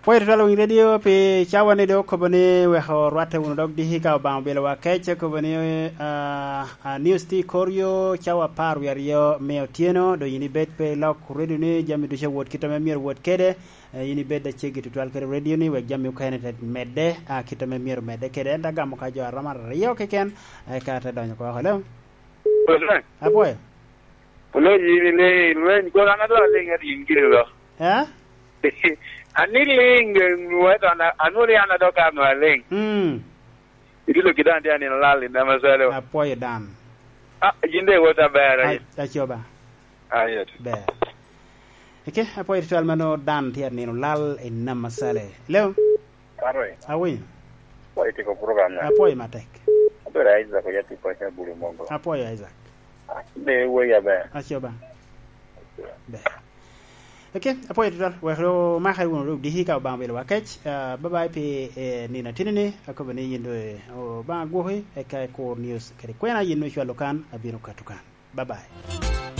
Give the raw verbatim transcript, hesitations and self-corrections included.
Pwoyo tutwal Winy Radio pi cawa ni dok okobo ni weko rwatte wunu dog diki ka Obaŋa obilowa kec, okobo ni, ah, ah, news tye i kor yo cawa apar wie aryo me otyeno, dong yin ibed pe ilok radio ni, jami ducu awot kit ame myero wot kede, eh, yin ibed aceggi tutwal kede radio ni wek jami okene te medde, ah, kit ame myero medde kede. Ento agamo ka jo aromo aryo keken, eka te donyo oko. Hello? Apwoyo. Oloo yin ile lweny, kono an adwa liŋ adi yin giri lo. Eh? Ani liŋ, nwoŋo eto an, anwoŋo ni an adok ano aliŋ. Mm. Itilo kida an tye anino lal i Namasalo. Apwoyo dan. Ah, yin de iwot aber, aye. Acoba. Aye. Ber. Eke, apwoyo tutwal mano dan tye anino lal i Namasalo. Hello? Arwe. Awinyo. Apwoyo tiko program na. Apwoyo matek. Abedo Isaac oya tipo cha bulu mogo. Apwoyo Isaac. Be woya be. Acoba. Be. Okay, apwoyo tutwal. Wek ro maka wunu ro diki ka Obaŋa obilo wa kec. Ah, bye bye pi, eh, nino atini ni. Akobo ni yin do, eh, Obaŋa gwoki, eka i kur news kede kwena yin ocwalo kan, abino kato kan. Bye bye.